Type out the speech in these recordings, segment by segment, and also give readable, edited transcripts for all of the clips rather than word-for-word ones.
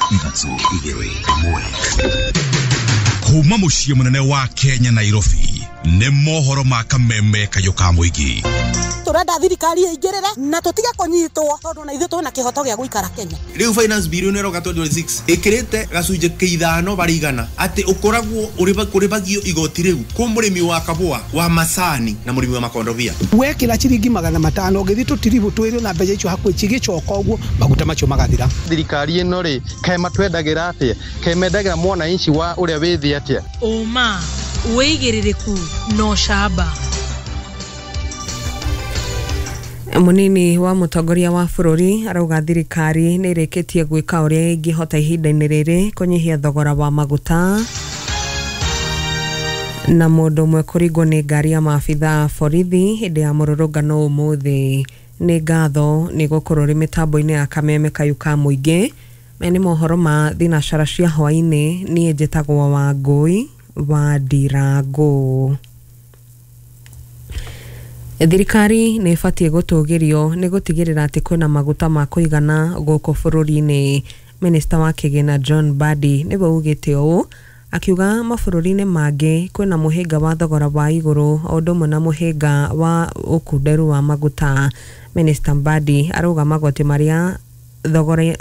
3 2 1. Kuma muciĩ mũnene wa Kenya Nairobi nĩ mohoro ma kameme kayũ ka mũingĩ. Turenda thirikari ĩingĩrĩre na tũtige kũnyitwo tondũ na ithuĩ twĩna kĩhoto gĩa gũikara Kenya. Rĩu finance bill nĩ ĩroka 2026 ĩkĩrĩte gacunjĩ kĩa 5 harĩ igana atĩ ũkoragwo ũrĩbagio igoti rĩu kũ mũrĩmi wa kabũa wa macani na mũrĩmi wa makondobia. Wekĩra ciringi 500 ũgĩthiĩ tũtiribũ twĩrĩ na mbeca icio hakuhĩ cigĩcoka ũguo maguta macio magathira. Thirikari ĩno rĩ kaĩ matwendagĩra atĩa, kaĩ mendagĩra mwananchi wa ũrĩa wĩ thĩ atĩa? Ũma, wĩigĩrĩrĩku na ũcamba. Munini wa mũtongoria wa bũrũri arauga thirikari nĩ ĩrĩkĩtie gwĩka ũrĩa ĩngĩhota ihinda-inĩ rĩrĩ kũnyihia thogora wa maguta na mũndũ ũmwe kũringwo nĩ ngari ya maabitha a borithi hĩndĩ ya mũrũrũngano ũmũthĩ. Nĩ ngatho nĩ gũkorwo rĩ mĩtambo-inĩ ya kameme kayũ ka mũingĩ. Maya nĩ mohoro ma thinacara cia hwaĩ-inĩ. Niĩ njĩtagwo Wangũi wa Ndirangũ. Thirikari nĩ ĩbatiĩ gũtũgĩrio nĩ gũtigĩrĩra atĩ kwĩna maguta ma kũigana gũkũ bũrũri-inĩ. Minista wa kĩgĩna John Mbadi nĩwe ugĩte ũũ akiuga mabũrũri-inĩ mangĩ kwĩna mũhĩnga wa thogora wa igũrũ o ũndũ ũmwe na mũhĩnga wa ũkunderu wa maguta. Minista Mbadi arauga magoti marĩa thogora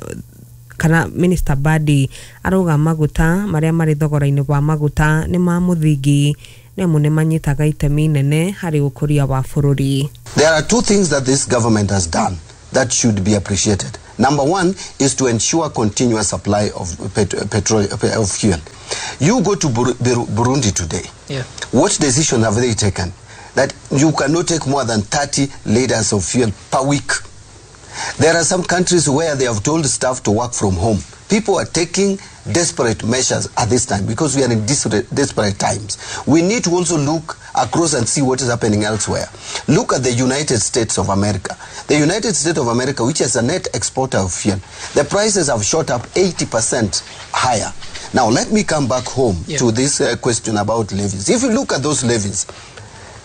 kana Minista Mbadi arauga maguta marĩa marĩ thogora-inĩ wa maguta nĩ ma mũthingi nĩamu nĩ manyitaga itemi nene harĩ ũkũria wa bũrũri. There are two things that this government has done that should be appreciated. Number one is to ensure continuous supply of petrol, of fuel. You go to Burundi today. Yeah. What decision have they taken? That you cannot take more than 30 liters of fuel per week. There are some countries where they have told staff to work from home. People are taking desperate measures at this time because we are in desperate times. We need to also look across and see what is happening elsewhere. Look at the United States of America. The United States of America, which is a net exporter of fuel, the prices have shot up 80% higher. Now, let me come back home to this question about levies. If you look at those levies,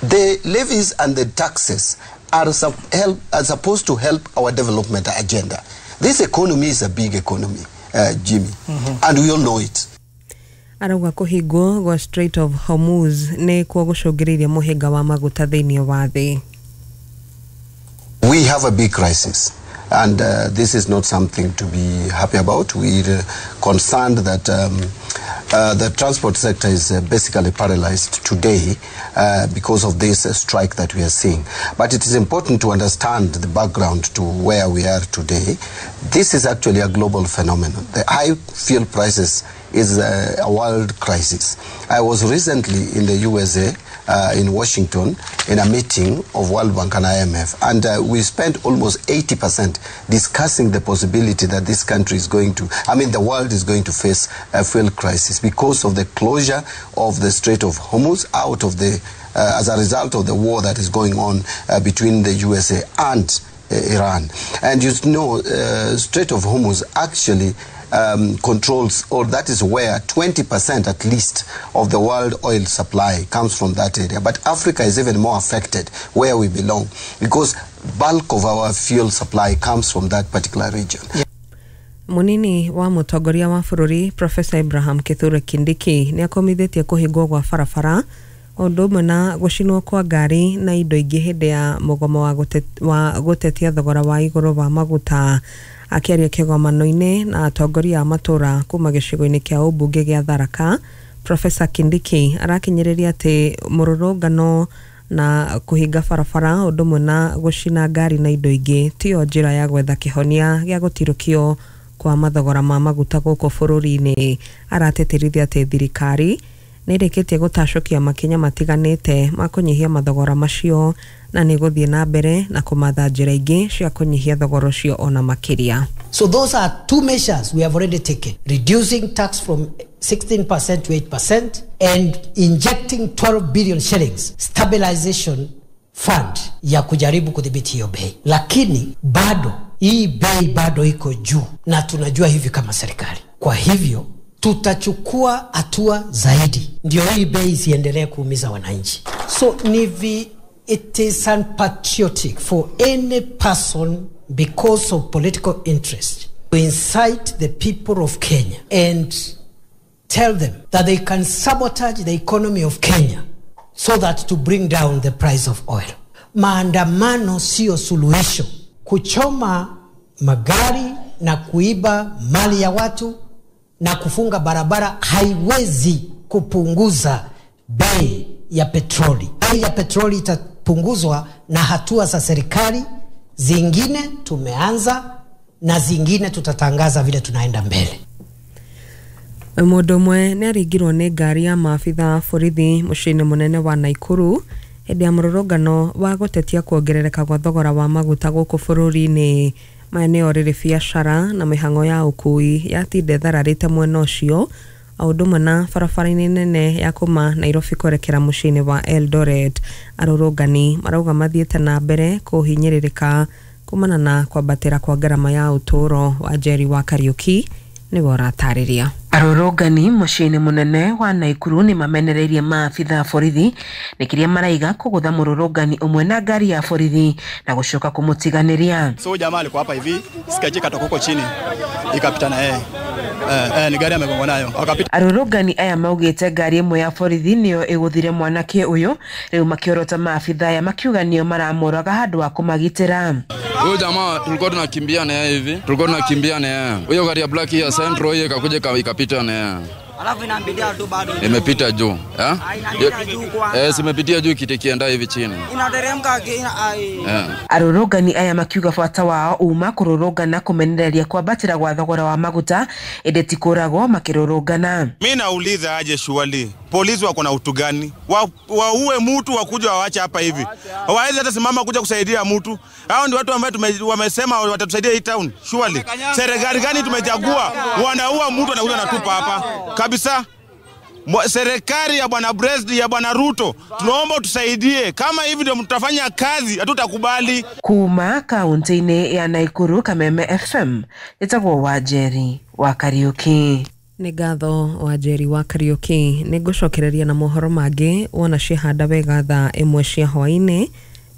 the levies and the taxes are supposed to help our development agenda. This economy is a big economy, Jimmy, and we all know it. Arauga kũhingwo gwa Strait of Hormuz nĩ kuo gũcũngĩrĩirie mũhĩnga wa maguta thĩinĩ wa thĩ. We have a big crisis, and this is not something to be happy about. We're concerned that the transport sector is basically paralyzed today because of this strike that we are seeing. But it is important to understand the background to where we are today. This is actually a global phenomenon. The high fuel prices is a world crisis. I was recently in the USA, in Washington, in a meeting of World Bank and IMF, and we spent almost 80% discussing the possibility that this country is going to, I mean, the world is going to face a fuel crisis because of the closure of the Strait of Hormuz out of the, as a result of the war that is going on between the USA and Iran. And you know, Strait of Hormuz actually controls, or that is where 20% at least of the world oil supply comes from that area. But Africa is even more affected where we belong because bulk of our fuel supply comes from that particular region. Yeah. Munini wa mũtongoria wa bũrũri Professor Abraham Kithure Kindiki nĩ akomithĩtie kũhingwo gwa barabara ũndũ ũmwe na gũcinwo kwa ngari na indo ingĩ hĩndĩ ya mũgomo wa gũtetia thogora wa igũrũ wa maguta. Akĩaria kĩgomano-inĩ na atongoria a matũra kuma gĩcigo-inĩ kĩa ũmbunge gĩa Tharaka, Professor Kindiki arakinyĩrĩria atĩ mũrũrũngano na kũhinga barabara ũndũ ũmwe na gũcina ngari na indo ingĩ tiyo njĩra ya gwetha kĩhonia gĩa gũtirũkio kwa mathogora ma maguta gũkũ bũrũri-inĩ. Aratĩtĩrithia atĩ thirikari nĩ ĩrĩkĩtie gũtacũkia makinya matiganĩte ma kũnyihia mathogora macio na nĩ gũthiĩ na mbere na kũmatha njĩra ingĩ cia kũnyihia thogora ũcio ona makĩria. So those are two measures we have already taken: reducing tax from 16% to 8% and injecting 12 billion shillings stabilization fund ya kujaribu kudhibiti hiyo bei. Lakini bado hii bei bado iko juu na tunajua hivi kama serikali. Kwa hivyo tutachukua hatua zaidi ndio hii bei isiendelee kuumiza wananchi. So it is unpatriotic for any person because of political interest To incite the people of Kenya and tell them that they can sabotage the economy of Kenya so that to bring down the price of oil. Maandamano sio suluhisho. Kuchoma magari na kuiba mali ya watu na kufunga barabara haiwezi kupunguza bei ya petroli. Bei ya petroli itapunguzwa na hatua za serikali, zingine tumeanza na zingine tutatangaza vile tunaenda mbele. Mũndũ ũmwe nĩ aringirwo nĩ ngari ya maabitha a borithi mũciĩ-inĩ mũnene wa Naikuru hĩndĩ ya mũrũrũngano wa gũtetia kuongerereka gwa thogora wa maguta gũkũ bũrũri-inĩ. Maya nĩo rĩrĩ biacara na mĩhang'o ya ũkui yatinda ĩthararĩte mwena ũcio o ũndũ ũmwe na barabara-inĩ nene ya kuma Nairobi kwerekera mũciĩ-inĩ wa Eldoret. Arũrũngani marauga mathiĩte na mbere kũhinyĩrĩrĩka kumana na kwambatĩra kwa ngarama ya ũtũũro. Wa Njeri wa Kariuki nĩwe ũratarĩria. Arũrũngani mũciĩ-inĩ mũnene wa Naikuru nĩ mamenereirie maabitha a borithi nĩ kĩrĩa maraiga kũgũtha mũrũrũngani ũmwe na ngari ya borithi na gũcoka kũmũtiganĩria. So jamaa alikuwa hapa hivi, sikaje katoka huko chini ikapita na yeye. Ni gari amegongwa nayo. Akapita. Arũrũngani aya maugĩte ngari ĩmwe ya borithi nĩyo ĩgũthire mwanake ũyũ, rĩu makĩorota maabitha aya makiuga nĩo maramũraga handũ ha kũmagitĩra. Huyo jamaa tulikuwa tunakimbia na yeye hivi, tulikuwa tunakimbia na yeye. Huyo gari ya black ya Centro hiyo ikakuja ikapita na yeye. Alafu inaambilia tu bado. Imepita juu, eh? Inapitia juu kwanza. Simepitia juu kitikienda hivi chini. Inateremka Arũrũngani aya makiuga bata wao uma kũrũrũngana kũmenereria kwambatĩra gwa thogora wa maguta ĩndĩ ti kũragwo makĩrũrũngana. Mimi nauliza aje shuali, polisi wako na utu gani? Waue mtu wakuja waache hapa hivi. Hawawezi hata simama kuja kusaidia mtu. Hao ndio watu ambao wamesema watatusaidia hii town. Shuali. Serikali gani tumechagua? Wanaua mtu anakuja anatupa hapa. Kabisa. Serikali ya bwana President ya bwana Ruto, tunaomba tusaidie. Kama hivi ndio mtafanya kazi, hatutakubali. Kuma kaunti-inĩ ya Naikuru, Kameme FM, ĩtagwo Wanjeri wa Kariuki. Nĩ ngatho Wanjeri wa Kariuki. Nĩ ngũcokereria na mohoro mangĩ wona ciahanda wega thaa 1 cia hwaĩ-inĩ.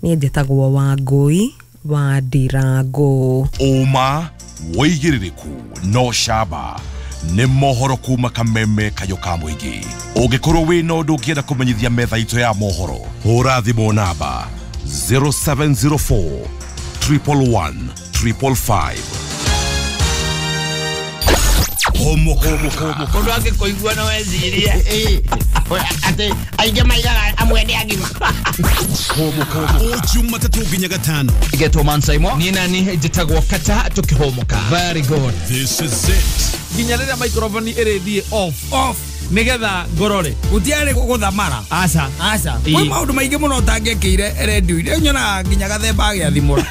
Niĩ njĩtagwo Wangũi wa Ndirango. Ũma wĩigĩrĩrĩku no camba nĩ mohoro kuma Kameme Kayo ka mũingĩ. Ũngĩkorwo wĩna ũndũ ũngĩenda kũmenyithia metha itũ ya mohoro, hũra thimũ namba 0704 111 555. Mũndũ angĩkũigua no ecirie atĩ aingĩ maigaga amwe nĩ agima. O Jumatatũ nginya Gatano. Getwo Mansaimo. Niĩ nani njĩtagwo Kata tũkĩhũmũka. Very good. This is it. Nginya rĩrĩa microphone ĩrĩthiĩ off nigetha ngorore gutiarĩ gũthamara. Aca aca kwĩ maũndũ maingĩ mũno ũtangĩekĩire redio-inĩ nyonaga nginya gathemba agĩathimũra.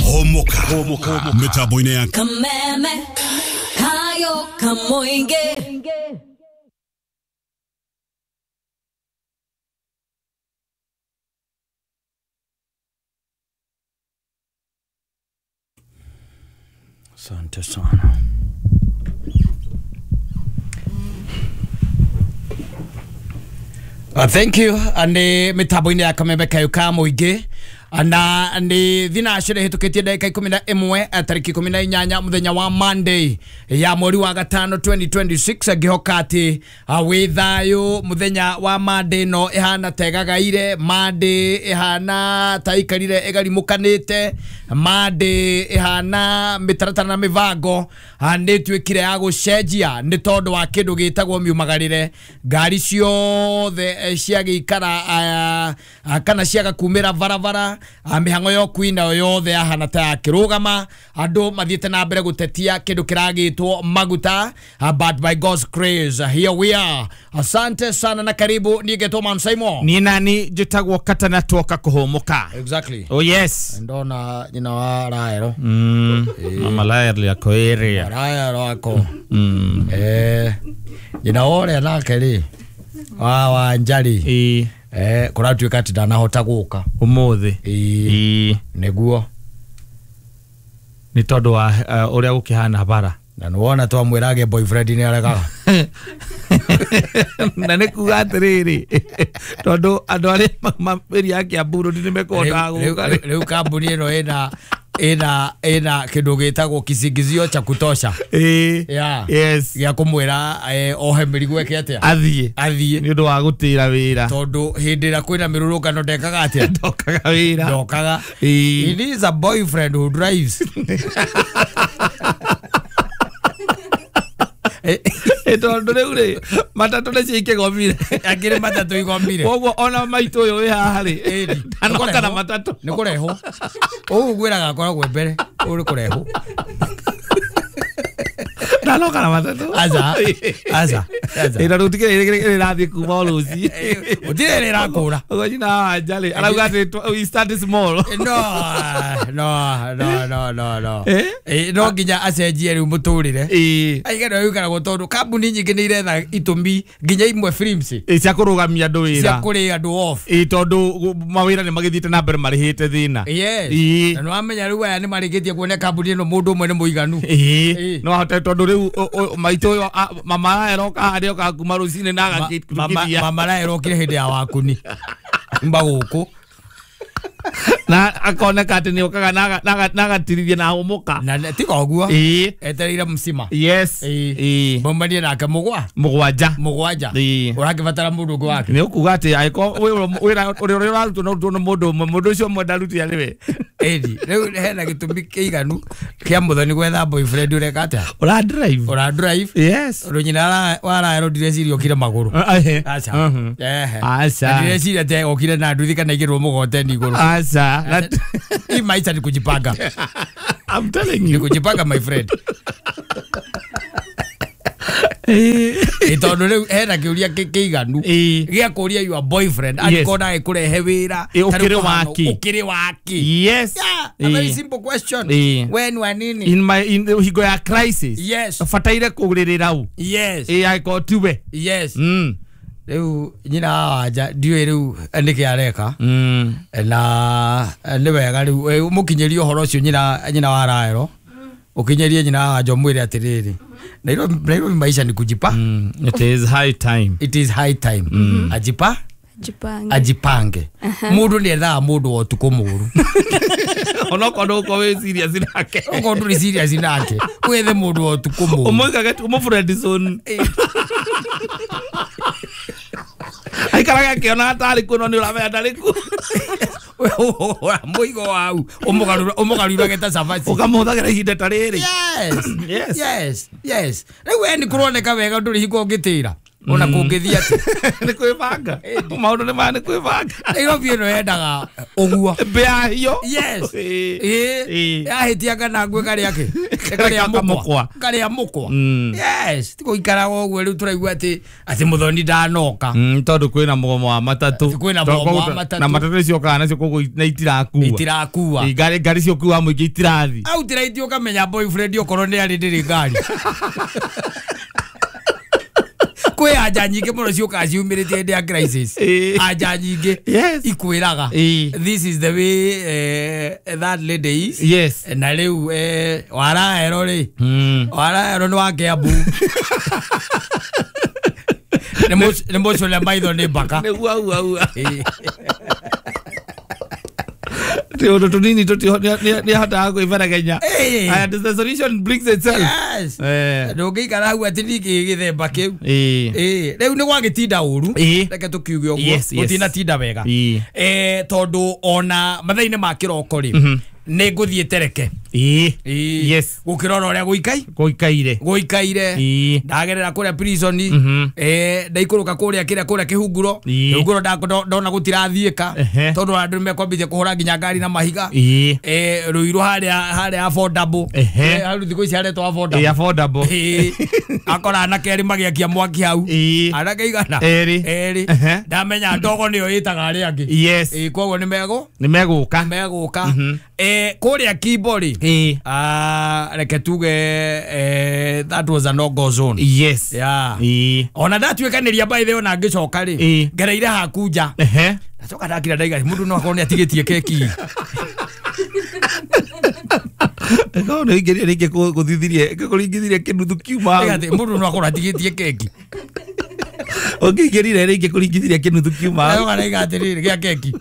Homoka mĩtambo-inĩ ya Kameme Kayo Kamoinge. Asante sana. Thank you. Nĩ mĩtambo-inĩ ya Kameme Kayo ka mũingĩ na nĩ thinacara ĩhĩtũkĩtie ndagĩka 11 tarĩki 18 mũthenya wa Monday ya mweri wa gatano 2026. Ngĩhoka atĩ wĩ thayũ. Mũthenya wa Monday no ĩhana ta ĩgagaire, Monday ĩhana ta ĩikarire ĩgarimũkanĩte, Monday ĩhana mĩtaratara na mĩbango nĩ ĩtuĩkire ya gũcenjia nĩ tondũ wa kĩndũ gĩtagwo miumagarĩre. Ngari ciothe ciagĩikara kana ciaga kumĩra barabara, mĩhang'o ya ũkui nayo yothe yahana ta yakĩrũgama. Andũ mathiĩte na mbere gũtetia kĩndũ kĩragĩtwo maguta, but by God's grace here we are. Asante sana na karibu. Niĩ ngetwo Mansaimo. Niĩ nani njĩtagwo Kata na twoka kũhũmũka. Exactly. Oh yes. Ndona nyina wa Raelo. Mama Raelo yako area. Raelo ako. Nyina wore nake rĩ wa Njari. Kũratuĩka atĩ ndanahota gũka ũmũthĩ. Nĩguo nĩ tondũ wa ũrĩa gũkĩhana bara. Na nĩwona twamwĩra agĩe boyfriend nĩ aregaga. Na nĩ kuga atĩrĩrĩ, tondũ andũ arĩa mambĩria ya Kiambu Road nĩ mekũhotaga gũka. Rĩu kambuni ĩno ĩna Ina kindu gitagwo kisingizio cha kutosha. Yeah. Yes. Gĩa kũmwĩra ohe mĩrigo eke atĩa? Athiĩ. Nĩ ũndũ wa gũtĩra wĩra. Tondũ hĩndĩ ĩrĩa kwĩna mĩrũrũngano ndekaga atĩa? Ndokaga wĩra. Ndokaga. He needs a boyfriend who drives. Tondũ rĩu rĩ matatũ nĩcio ikĩgomire. Akĩrĩ matatũ igomire. Koguo ona maitũ ũyũ wĩ haha rĩ ndanoka na matatũ. Nĩ kũrehwo. Ũũ ngwĩraga akoragwo mbere. Ũũ nĩ kũrehwo. Ndanoka na matatũ. Aca. Aca. Ĩna rĩu tikĩrĩ ĩrathiĩ kuma o rũciĩ. Gũtirĩ ĩrĩ ĩrakũra. Ũguo nyina wa Wanja rĩ arauga atĩ we start small. No. No nginya acenjie rĩu mũtũrĩre. Aigana ũikaragwo tondũ kambuni nyingĩ nĩ iretha itũmi nginya imwe films cia kũrũgamia andũ wĩra. Cia kũrĩa andũ off. Tondũ mawĩra nĩ magĩthiĩte na mbere marĩhĩte thĩna. Yes. Na nĩ wamenya rĩu aya nĩ marĩkĩtie kuona kambuni ĩno mũndũ ũmwe nĩ mũiganu. No ahote tondũ rĩu maitũ ũyũ mama aroka harĩa oka kuma rũcinĩ na agakĩrutithia. Mama arokire hĩndĩ ya wakuni. Mba gũkũ. Na akoneka atĩ nĩ okaga na agatirithia na ahũmũka. Na tiga ũguo. Etereire mcima. Yes. Maumanie nake mũgwanja. Ũrakĩbatara mũndũ ũngĩ wake. Nĩ ũkuga atĩ angĩkorwo wĩra ũrĩa ũrarutwo no ũrutwo nĩ mũndũ ũmwe, mũndũ ũcio ũmwe ndaruti arĩ we. Ĩni rĩu hena gĩtũmi kĩiganu kĩa Muthoni gwetha boyfriend ũreka atĩa? Ũra drive. Ũra drive. Yes. Ũndũ nyina wa Raelo ndireciria okire magũrũ. Aca. Aca. Ndireciria atĩ okire na nduthi kana igĩrwo mũgoteni igũrũ. Aca. Hii maisha ni kujipanga. I'm telling you. Ni kujipanga my friend. Tondũ rĩu hena kĩũria kĩiganu gĩa kũria your boyfriend angĩkorwo ndagĩkũrehe wĩra ũkĩrĩ waki. Yes. A very simple question. We nĩ wa nini? In my in hingo ya crisis. Yes. Bataire kũgũrĩrĩra u. Yes. Angĩkorwo tiwe. Yes. Rĩu nyina wa Wanja ndiũĩ rĩu nĩkĩ areka. Na nĩ wega rĩu mũkinyĩrie ũhoro ũcio nyina wa Raelo. Ũkinyĩrie nyina wa Wanja ũmwĩre atĩrĩrĩ Nairobi maisha ni kujipa. It is high time. It is high time. Ajipa? Ajipange. Mũndũ nĩ ethaga mũndũ wa ũtukũ mũru. Onokorwo ndũgũkorwo wĩ serious nake. Okorwo ndũrĩ serious nake. Wethe mũndũ wa ũtukũ mũru. Ũmũigage ũmũ friend zone. Aikaraga akĩona atarĩ kuo no nĩ ũramenya ndarĩ kuo. Mũigo wau ũmũgarurage ta cabaci. Ũkamũhũthagĩra ihinda ta rĩrĩ. Yes. Yes. Yes. Rĩu we nĩ kũroneka wega ndũrĩ hingo ũngĩtĩra. Ona kũngĩthiĩ atĩ. Nĩ kwĩbanga. Maũndũ nĩ maya nĩ kwĩbanga. Nairobi ĩno yendaga ũguo. Mbĩa hiyo. Yes. Yahĩtia kana ngwe karĩa kĩ? Karĩa mũkwa. Karĩa mũkwa. Yes. Ti gũikaraga ũguo rĩu tũraigua atĩ Muthoni ndanoka. Tondũ kwĩna mũgomo wa matatũ. Kwĩna mũgomo wa matatũ. Na matatũ nĩcio nacio koguo na itirakua. Itirakua. Ngari cio kuwa mũingĩ itirathi. Outright ũkamenya boyfriend okorwo nĩ arĩ ndĩrĩ ngari. Kwĩ anja nyingĩ mũno ciũkaga ciumĩrĩte hĩndĩ ya crisis. Anja nyingĩ ikwĩraga this is the way that lady is. Yes. Na rĩu Waraero rĩ Waraero nĩ wa Kiambu. Nĩ mũcũre maitho nĩ mbaka. Nĩ ua ua ua. Tũndũ tũnini nĩ ahotaga kwĩberegenya. And the solution brings itself. Yes. Ndũngĩikara hau atĩ ningĩ gĩthemba kĩu. Rĩu nĩ gwagĩtinda ũru. Reke tũkiuge ũguo. Gũtinatinda wega. Tondũ ona mathaa-inĩ ma kĩroko rĩ nĩ ngũthiĩ Tereke. Yes. Gũkĩrora ũrĩa gũikaire. Gũikaire. Ndagerera kũrĩa prison. Ndaikũrũka kũrĩa kĩrĩa kũrĩa kĩhunguro. Kĩhunguro ndona gũtirathiĩka. Tondũ andũ nĩmekwambithia kũhũra nginya ngari na mahiga. Rũirũ harĩa affordable. Hau thikũ ici haretwo affordable. Affordable. Akora anake erĩ magĩakia mwaki hau. Anake igana? Erĩ. Ndamenya ndogo nĩyo ĩtaga arĩa angĩ. Yes. Koguo nĩ megũka. Megũka. Kũrĩa Kimbo rĩ reke tuge that was a no go zone. Yes. Yeah. Ona ndatuĩkanĩria by the way ona ngĩcoka rĩ ngereire haku nja. Ndacoka ndakira ndaiga mũndũ no akorwo nĩ atigĩtie keki. No nĩ ingĩria rĩngĩ kũthithirie kũringithirie kĩnuthu kiuma. Mũndũ no akorwo atigĩtie keki. Ũngĩingĩrire rĩngĩ kũringithirie kĩnuthu kiuma. Rĩu araiga atĩrĩrĩ gĩa keki.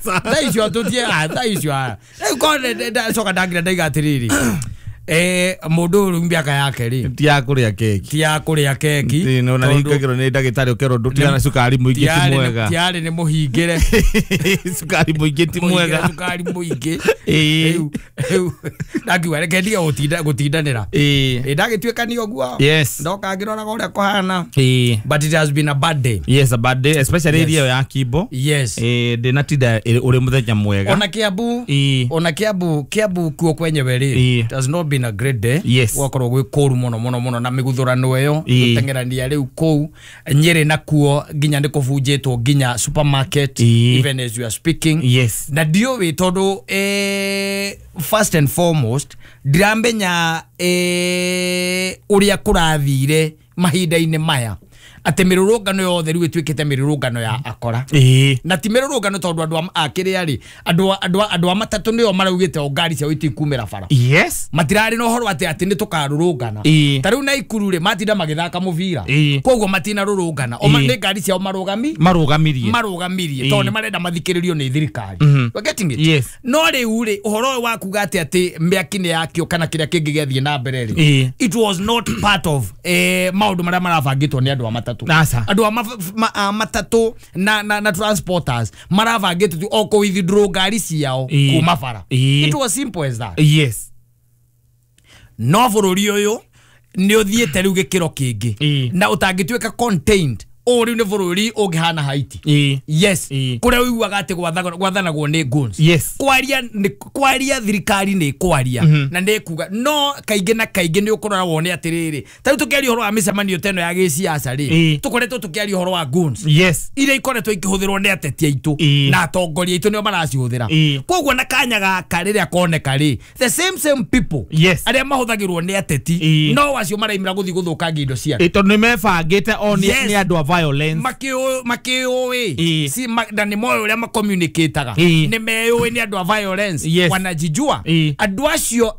Thaa icio tũtie thaa icio rĩu korwo ndacoka ndangira ndaiga atĩrĩrĩ mũndũ ũyũ rĩu mĩaka yake rĩ ti ya kũrĩa keki, ti ya kũrĩa keki. Na nĩhingagĩrwo nĩ ndagĩtarĩ ũkerwo ndũtigana cukari mũingĩ ti mwega. Tiarĩ nĩ mũhingĩre cukari mũingĩ ti mwega, cukari mũingĩ. Rĩu ndakiuga reke ndige gũtindanĩra. Ndagĩtuĩka nĩ ũguo ndoka ngĩroraga ũrĩa kũhana. But it has been a bad day. Yes, a bad day, especially area ya Kimbo. Yes. Ndĩnatinda ũrĩ mũthenya mwega. Ona Kiambu, ona Kiambu kuo kwenyewe rĩ, it has not been a great day. Yes. Gwakorwo gwĩ kũru mũno mũno mũno na mĩguthũrano ĩyo gũteng'erania rĩu kũu Nyĩrĩ nakuo nginya nĩ kũbunjĩtwo nginya supermarket even as you are speaking. Yes. Na ndiũĩ tondũ first and foremost ndiramenya ũrĩa kũrathire mahinda-inĩ maya atĩ mĩrũrũngano yothe rĩu ĩtuĩkĩte mĩrũrũngano ya akora. Na ti mĩrũrũngano tondũ andũ a kĩrĩa rĩ, andũ a matatũ nĩo maraugĩte o ngari ciao itikumĩra bara. Yes. Matirarĩ na ũhoro atĩ nĩ tũkarũrũngana. Ta rĩu Naikuru rĩ, matinda magĩthaka mũbira, koguo matinarũrũngana. O nĩ ngari ciao marũgamirie tondũ nĩ marenda mathikĩrĩrio nĩ thirikari. You are getting it? Yes. No rĩu rĩ, ũhoro ũyũ wa kuga atĩ mĩaki nĩ yakio kana kĩrĩa kĩngĩ gĩathiĩ na mbere rĩ, it was not part of maũndũ marĩa marabangĩtwo nĩ andũ a matatũ. Andũ a matatũ na transporters marabangĩtwo tu o kũ withdraw ngari ciao kuma bara. It was simple as that. Yes. No bũrũri ũyũ nĩ ũthiĩte rĩu gĩkĩro kĩngĩ na ũtangĩtuĩka contained. Ũũ rĩu nĩ bũrũri ũngĩhana Haiti. Yes. Kũrĩa ũiguaga atĩ gwathanagwo nĩ guns. Yes. Kwaria thirikari nĩ kwaria na nĩ kuga no kaingĩ na kaingĩ nĩ ũkũrora wone atĩrĩrĩ ta rĩu tũkĩaria ũhoro wa mĩcemanio ta ĩno ya gĩciaca rĩ, tũkoretwo tũkĩaria ũhoro wa guns. Yes. Iria ikoretwo ikĩhũthĩrwo nĩ ateti aitũ na atongoria aitũ nĩo maracihũthĩra. Koguo na kanya gaka rĩrĩa koneka rĩ, the same people arĩa mahũthagĩrwo nĩ ateti no acio maraimĩra gũthiĩ gũthũkangia indo cia andũ. Tondũ nĩ mebangĩte o nĩ andũ a violence makĩũĩ si na nĩ moĩ ũrĩa macommunicataga, nĩ meyũĩ nĩ andũ a violence, wanajijua. Andũ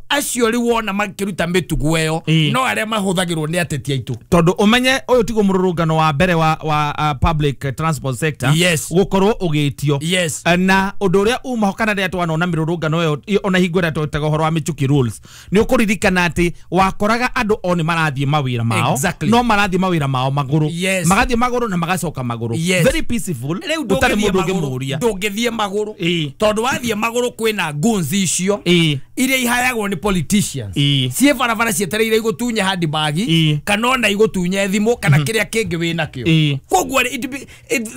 acio rĩu wona makĩruta mĩtugo ĩyo no arĩa mahũthagĩrwo nĩ ateti aitũ. Tondũ ũmenye ũyũ tiguo mũrũrũngano wa mbere wa public transport sector gũkorwo ũgĩtio. Na ũndũ ũrĩa umaho kana rĩrĩa twanona mĩrũrũngano ĩyo ona hingo ĩrĩa twetaga ũhoro wa Michuki rules, nĩ ũkũririkana atĩ wakoraga andũ o nĩ marathiĩ mawĩra mao, no marathiĩ mawĩra mao magũrũ, magathiĩ magũrũ na magacoka magũrũ. Very peaceful. Gũtarĩ mũndũ ũngĩmũria. Ndũngĩthiĩ magũrũ tondũ wathiĩ magũrũ kwĩna guns icio iria ihayagwo nĩ politicians ciĩ barabara cietereire igũtunye handbag kana ona igũtunye thimũ kana kĩrĩa kĩngĩ wĩnakĩo. Koguo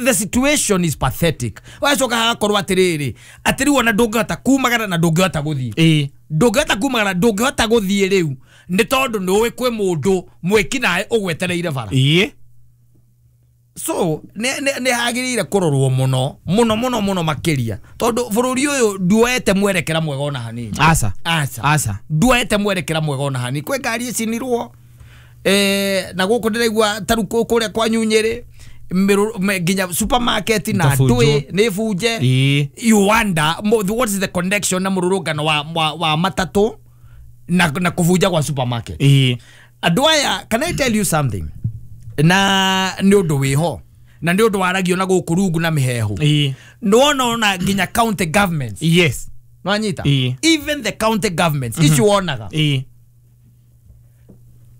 the situation is pathetic. Wacoka hagakorwo atĩrĩrĩ atĩ rĩu ona ndũngĩhota kumagara na ndũngĩhota gũthiĩ, ndũngĩhota kumagara ndũngĩhota gũthiĩ rĩu nĩ tondũ nĩ ũĩ kwĩ mũndũ mwĩkinaĩ ũgwetereire bara. So nĩ hagĩrĩire kũrorwo mũno mũno mũno mũno makĩria tondũ bũrũri ũyũ nduoete mwerekera mwega ona hanini. Aca. Aca. Nduoete mwerekera mwega ona hanini. Kwĩ ngari icinirwo na gũkũ ndĩraigua ta rĩu kũrĩa kwanyu Nyĩrĩ nginya supermarket na ndũĩ nĩ bunje. You wonder what is the connection na mũrũrũngano wa matatũ na kũbunja kwa supermarket. Andũ aya, can I tell you something? Na nĩ ũndũ wĩho na nĩ ũndũ waragio na gũkũ rungu na mĩhehu nĩwona ona nginya county governments. Yes. Nwanyita even the county governments icio wonaga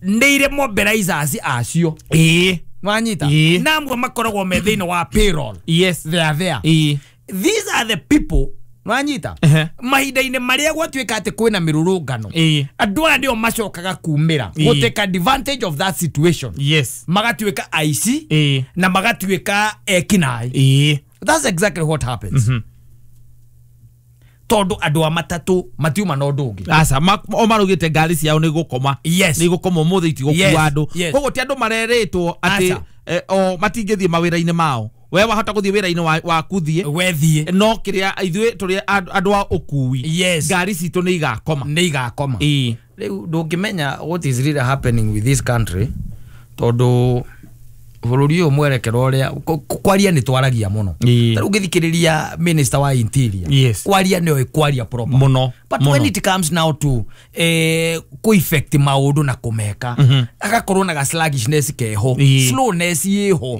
nĩ irĩ mobilizers acio. Nwanyita na amwe makoragwo me thĩinĩ wa payroll. Yes. They are there. These are the people. Nwanyita mahinda-inĩ marĩa gwatuĩka atĩ kwĩna mĩrũrũngano andũ aya nĩo macokaga kumĩra gũ take advantage of that situation. Yes. Magatuĩka aici na magatuĩka ekinaĩ. That's exactly what happens. Tondũ andũ a matatũ matiuma na ũndũ ũngĩ. Aca o marugĩte ngari ciao nĩ gũkoma. Yes. Nĩ gũkoma ũmũthĩ itigũkua andũ. Koguo ti andũ marerĩtwo atĩ o matingĩthiĩ mawĩra-inĩ mao. We wahota guthie wira-ini waku thie wethie no kiria ithuĩ tũrĩ andũ a ũkui. Yes. Ngari citũ nĩ igakoma, nĩ igakoma. Rĩu ndũngĩmenya what is really happening with this country tondũ Bũrũri ũyũ mwerekero ũrĩa kwaria nĩ twaragia mũno. Ta rĩu ũngĩthikĩrĩria minister wa interior. Yes. Kwaria nĩoĩ kwaria proper. Mũno. But when it comes now to ku effect maũndũ na kũmeka agakorwo na ga sluggishness keho, slowness ĩho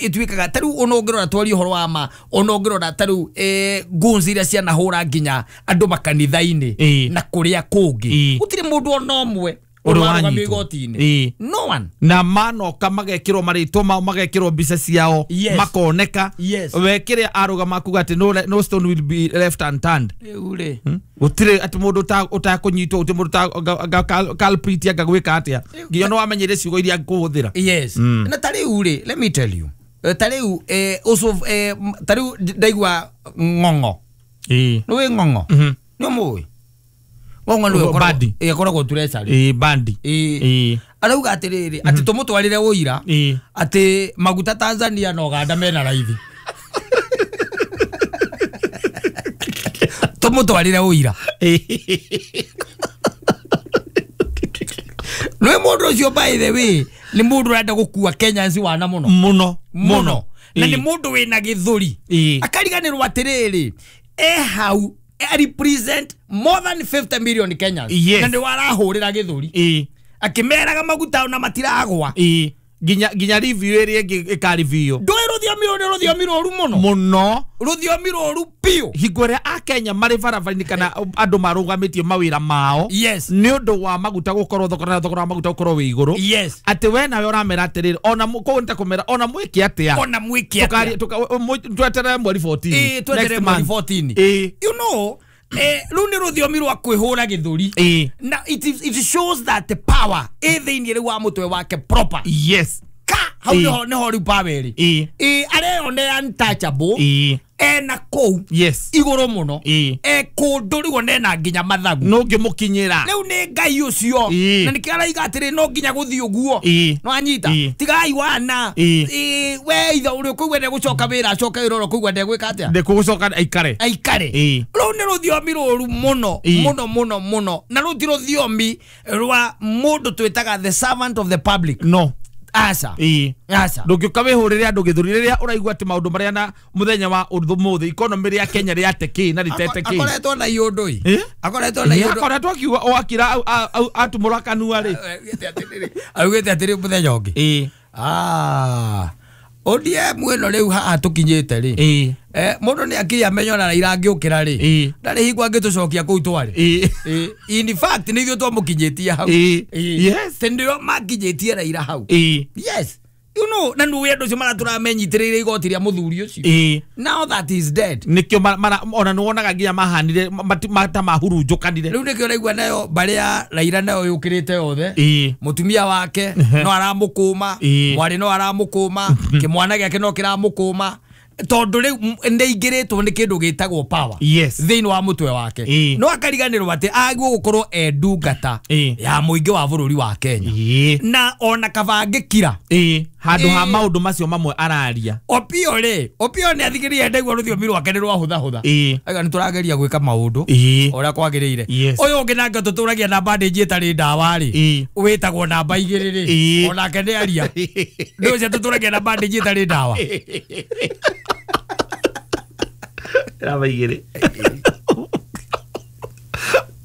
ĩtuĩkaga ta rĩu ona ũngĩrora twarie ũhoro wa ma, ona ũngĩrora ta rĩu guns iria cianahũra nginya andũ makanitha-inĩ na kũrĩa kũngĩ, gũtirĩ mũndũ ona ũmwe ũrarũgamio igoti-inĩ. No one. Na manoka magekĩrwo marĩtwa mao, magekĩrwo mbica ciao, makoneka. We kĩrĩa arũgama kuga atĩ no stone will be left unturned. Rĩu rĩ gũtirĩ atĩ mũndũ ũtakũnyitwo, gũtirĩ mũndũ culprit anga gwĩka atĩa, nginya no wamenyere ciugo iria ngũhũthĩra. Yes. Na ta rĩu rĩ, let me tell you, ta rĩu ta rĩu ndaigua ng'ong'o. Nĩũĩ ng'ong'o? Nĩ ũmũĩ? Ng'ong'o nĩwe ĩkoragwo treasury. Bandi. Arauga atĩrĩrĩ, atĩ tũmũtwarĩre ũira atĩ maguta Tanzania na Uganda mena raithi. Tũmũtwarĩre ũira. Nĩ mũndũ ũcio, by the way, nĩ mũndũ ũrenda gũkua Kenyans wana mũno. Mũno. Mũno. Na nĩ mũndũ wĩna gĩthũri. Akariganĩrwo atĩrĩrĩ, e hau represent more than 50 million Kenyans. Yes. Na nĩ warahũrĩra gĩthũri. Akĩmeraga maguta ona matiragwa. Nginya review ĩrĩa ĩngĩ ĩkareview. Ndũĩ rũthiomi rũrũ nĩ rũthiomi rũru mũno. Mũno. Rũthiomi rũru biũ. Hingo ĩrĩa Akenya marĩ barabara-inĩ kana andũ marũgamĩtie mawĩra mao. Yes. Nĩ ũndũ wa maguta gũkorwo thogora na thogora wa maguta gũkorwo wĩ igũrũ. Yes. Atĩ we nawe ũramera atĩrĩrĩ, ona kũu nĩ ta kũmera, ona mwĩke atĩa. Ona mwĩke atĩa. Tweterere mweri 14. Tweterere mweri 14. You know, rĩu nĩ rũthiomi rwa kwĩhũra gĩthũri. Na it shows that the power ĩ thĩinĩ rĩu wa mũtwe wake proper. Yes. Ka hau nĩho rĩu power ĩrĩ. Areyonera untouchable. Ena kũu. Yes. Igũrũ mũno. E kũndũ rĩu ona ena nginya mathagu. No ngĩmũkinyĩra. Rĩu nĩ Ngai ũcio. Na nĩkĩo araiga atĩrĩ no nginya gũthiĩ ũguo. No anyita. Tigai wana. We ithe ũrĩa ũkũigua ndegũcoka wĩra acoke wĩra, ũrĩa ũkũigua ndegwĩka atĩa? Ndekũgũcoka aikare. Aikare. Rũu nĩ rũthiomi rũru mũno mũno mũno mũno. Na rũu ti rũthiomi rwa mũndũ twĩtaga the servant of the public. No. Aca. Aca. Ndũngĩũka wĩhũrĩre andũ gĩthũri rĩrĩa ũraigua atĩ maũndũ marĩa na mũthenya wa ũmũthĩ economy rĩa Kenya rĩate kĩ na rĩtete kĩ. Akoretwo na iũndũ ĩ. Akoretwo na iũndũ. Akoretwo akiuga o akira atumũra kanua rĩ. Augĩte atĩrĩ mũthenya ũngĩ. ODM ĩno rĩu haha tũkinyĩte rĩ. Mũndũ nĩ akiri amenye ona Raila angĩũkĩra rĩ. Ndarĩ hingo angĩtũcokia kũu twarĩ. In fact nĩ ithuĩ twamũkinyĩtie hau. Yes. Tondũ makinyĩtie Raila hau. Yes. You know, na nĩ andũ acio maratũramenyitĩrĩire igoti rĩa mũthuri ũcio. Now that is dead. Nĩkĩo ona nĩ wonaga nginya mahanire ta mahurunjũkanire. Rĩu nĩkĩo ũraigua nayo mbarĩ ya Raila nayo yũkĩrĩte yothe. Mũtumia wake no aramũkũma, mwarĩ no aramũkũma, kĩmwana gĩake no kĩramũkũma. Tondũ rĩu nĩaingĩrĩtwo nĩ kĩndũ gĩtagwo power. Yes. Thĩinĩ wa mũtwe wake. No akariganĩrwo atĩ agĩrĩirwo gũkorwo e ndungata ya mũingĩ wa bũrũri wa Kenya. Na ona kaba angĩkira. Handũ ha maũndũ macio mamwe araria. Opio rĩ, Opio nĩ athikĩrĩria ndaigua rũthiomi rwake nĩ rwahũthahũtha. Aiga nĩ tũrageria gwĩka maũndũ ũrĩa kwagĩrĩire. Ũyũ ũngĩ nake tũtũragia na bandage ĩtarĩ ndawa rĩ, wĩtagwo namba 2 rĩ, onake nĩ aria. Nĩ ũcio tũtũragia na bandage ĩtarĩ ndawa. Namba 2.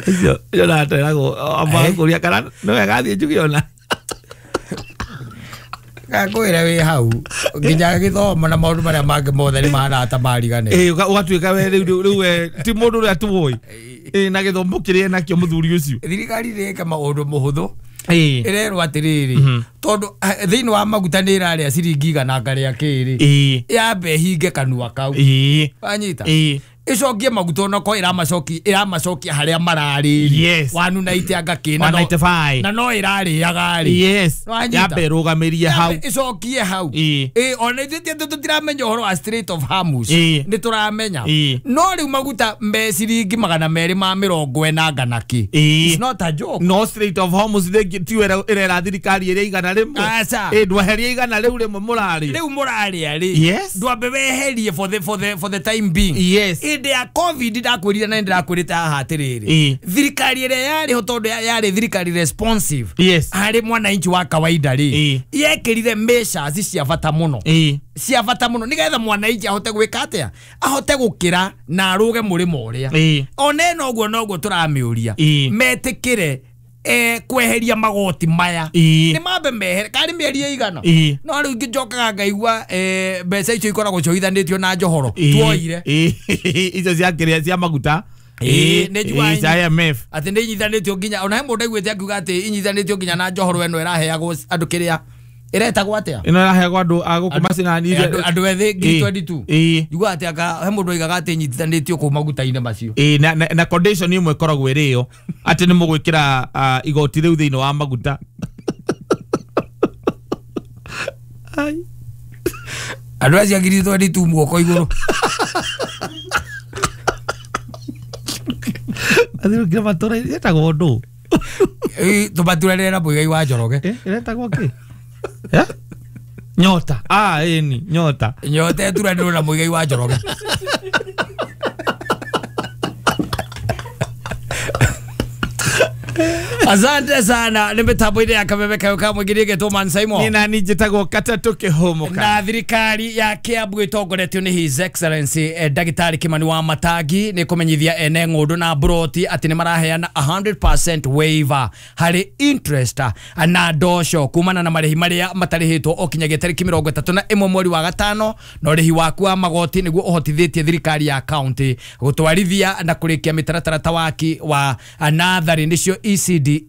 Icio nateragwo ambakũria kana nĩ wega thiĩ njuge ona. Ngakwĩra wĩ hau nginya gĩthomo na maũndũ marĩa mangĩ mothe nĩ mahana ta mariganĩra. Ũgatuĩka we rĩu we ti mũndũ ũrĩa tũĩ. Na gĩthomo kĩrĩa nakĩo mũthuri ũcio. Thirikari ĩreka maũndũ mũhũthũ. Ĩrerwo atĩrĩrĩ, tondũ thĩinĩ wa maguta nĩ ĩrarĩa ciringi 100 ngarĩa kĩrĩ, yambe ĩhinge kanua kau. Wanyita? Ĩcokie maguta onakorwo ĩramacokia harĩa mararĩ. Yes. 190 anga kĩ, 195. na no ĩrarĩaga rĩ. Yes. Yambe ĩrũgamĩrie hau. Ĩcokie hau. Ona ithuĩ tũtiramenya ũhoro wa Strait of Hormuz. Nĩ tũramenya. No rĩu maguta me ciringi 240 na kĩ. It's not a joke. No Strait of Hormuz tiyo ĩrera thirikari ĩrĩa 100. Aca. Ndweherie 100 rĩu rĩmwe mũrarĩa. Rĩu mũrarĩa rĩ. Yes. Ndwambe weherie for the time being. Yes. Hĩndĩ ya COVID ndakwĩrire na ndĩrakwĩrĩte haha atĩrĩrĩ, thirikari ĩrĩa yarĩ ho tondũ yarĩ thirikari responsive harĩ mwananchi wa kawaida rĩ, yekĩrire measures cia bata mũno, cia bata mũno nĩgetha mwananchi ahote gwĩka atĩa, ahote gũkĩra na arũge mũrĩmo ũrĩa. Ona ĩno ũguo noguo tũramĩũria metĩkĩre kweheria magoti maya, nĩ mambe mehere karĩ mĩeri ĩigana. No rĩu ngĩnjokaga ngaigua mbeca icio ikoragwo cioithanĩtio na njohoro tuoire icio cia kĩrĩa cia maguta nĩ IMF atĩ nĩ inyithanĩtio nginya ona he mũndũ aiguĩte akiuga atĩ inyithanĩtio nginya na njohoro ĩno ĩraheagwo andũ kĩrĩa ĩretagwo atĩa, ĩno ĩraheagwo andũ a gũkũ macinani, andũ ethĩ 2022. Njiguaga atĩ he mũndũ oigaga atĩ inyitithanĩtio kũu maguta-inĩ macio. Na condition ĩmwe ĩkoragwo ĩrĩ ĩyo atĩ nĩ mũgwĩkĩra igoti rĩu thĩinĩ wa maguta. Andũ acio a 2022 guoko igũrũ. Athirũkire matũra ĩtagwo ndũ tũmaturarĩre na Mũigai wa Njoroge. Ĩretagwo kĩ? Nyota. Ĩni nyota. Nyota ĩturanĩrwo na Mũigai wa Njoroge. Asante sana nĩ mĩtambo-inĩ ya Kameme Kayo ka Mũingĩ nĩgetwo Man Simon. Nĩ nani njĩtagwo Katatũ Kĩhũmũka. Na thirikari ya Kiambu ĩtongoretio nĩ His Excellency Ndagĩtarĩ Kimani wa Matangi nĩ kũmenyithia ene ng'ũndũ na mburoti atĩ nĩ maraheana 100% waiver harĩ interest na ndosho kumana na marĩhi marĩa matarĩhĩtwo o kinyagia tarĩki 31 mweri wa gatano, na ũrĩhi waku wa magoti nĩguo ũhotithĩtie thirikari ya county gũtwarithia na kũrĩkia mĩtaratara ta waki wa natharĩ nĩcio ECDE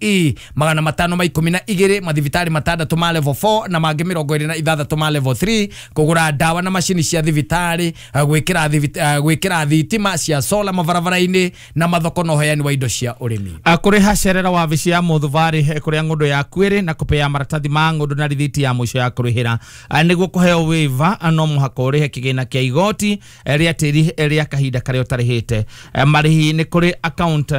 512 mathibitarĩ 6 ma level 4 na mangĩ 26 ma level 3, kũgũra ndawa na macini cia thibitarĩ, gwĩkĩra thitima cia solar mabarabara-inĩ na mathoko na ũheani wa indo cia ũrĩmi. Kũrĩha cerera wabici ya mũthubarĩ kũrĩa ng'ũndũ yaku ĩrĩ na kũpea maratathi ma ng'ũndũ na rithiti ya mũico ya kũrĩhĩra. Nĩguo kũheo waiver no mũhaka ũrĩhe kĩgĩna kĩa igoti rĩa tĩri rĩa kahinda karĩa ũtarĩhĩte. Marĩhi nĩ kũrĩ account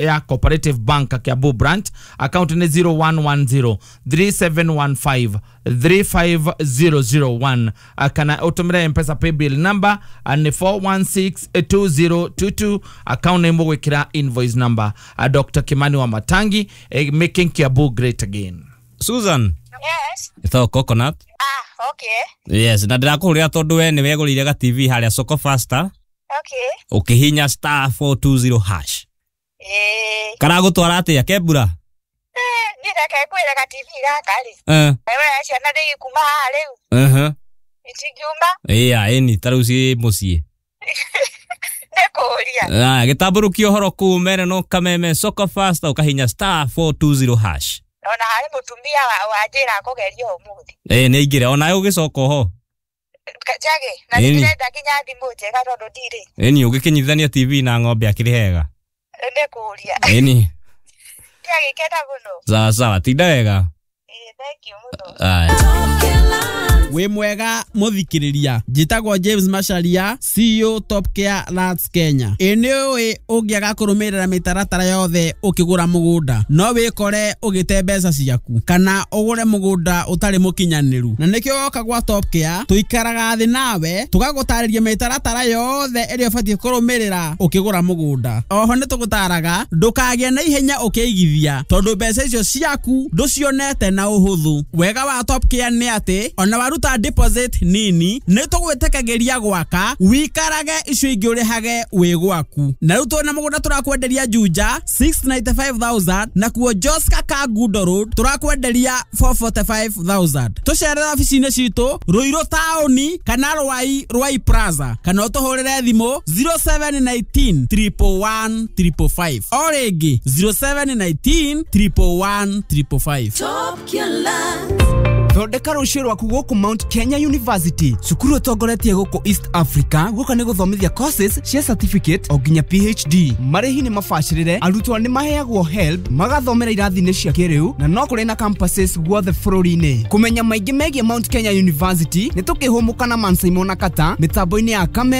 ya Cooperative Bank Kiambu branch, account nĩ 0110 3715 35001, kana ũtũmĩre Mpesa paybill number nĩ 4162022, account name ũgwĩkĩra invoice number. Dr. Kimani wa Matangi, making Kiambu great again. Susan. Yes. Ĩtagwo Coconut. Okay. Yes, na ndĩrakũhũrĩra tondũ we nĩ wegũrĩire ga TV harĩa Soko Faster. Okay. Ũkĩhinya star 420 hash. Karagũtwara atĩa kembura? Niĩ reke ngwĩre ga TV gaka rĩ. We ciana nĩ ikuma haha rĩu. Itingiuma. Ĩya ĩni ta rĩu ciĩ mũciĩ. Nĩ kũũria. Gĩtambũrũkia ũhoro kũu mere no Kameme Soko Faster ũkahinya star 420 hash. Ona harĩ mũtumia wanjĩra kũgeria ũmũthĩ. Nĩ aingĩre onawe ũgĩcoka oho. Njage na ndĩrenda nginya thimũ njega tondũ ndirĩ. Ĩni ũgĩkĩnyitithania TV na ng'ombe akĩrĩ hega. Nĩ kũũria. Ĩni. Ndiagĩkena mũno. Sawa sawa, tinda wega. Thank you mũno. Wĩ mwega mũthikĩrĩria, njĩtagwo James Macharia, CEO Top Care Lands Kenya. Ĩ nĩ ũĩ ũngĩaga kũrũmĩrĩra mĩtaratara yothe ũkĩgũra mũgũnda no wĩkore ũgĩte mbeca ciaku kana ũgũre mũgũnda ũtarĩ mũkinyanĩru, na nĩkĩo woka gwa Top Care tũikaraga thĩ nawe tũgagũtarĩria mĩtaratara yothe ĩrĩa ũbatiĩ kũrũmĩrĩra ũkĩgũra mũgũnda. Oho nĩ tũgũtaraga ndũkagĩe na ihenya ũkĩigithia tondũ mbeca icio ciaku ndũcionete na ũhũthũ. Wega wa Top Care nĩ atĩ ona waruta deposit nini nĩ tũgwĩtĩkagĩria gwaka wikarage icio ingĩ ũrĩhage wĩ gwaku. Na rĩu twĩna mũgũnda tũrakwenderia Juja 695,000 na kuo Joska Kangundo Road tũrakwenderia 445,000. Tũcerere obici-inĩ citũ Ruiru taũni kana Rwai Rwai Plaza kana ũtũhũrĩre thimũ 0719 111 555 o rĩngĩ 0719 111 555. Top Killer. Thondeka rũciũ rwaku gũkũ Mount Kenya University, cukuru ũtongoretie gũkũ East Africa gũka nĩ gũthomithia courses cia certificate o nginya PhD. Marĩhi nĩ mabacĩrĩre, arutwo nĩ maheagwo HELB, magathomera irathi-inĩ cia kĩrĩu na no kũrĩ na campuses guothe bũrũri-inĩ. Kũmenya maingĩ megiĩ Mount Kenya University nĩ tũkĩhũmũka na Man Simon na Kata mĩtambo-inĩ ya Kame.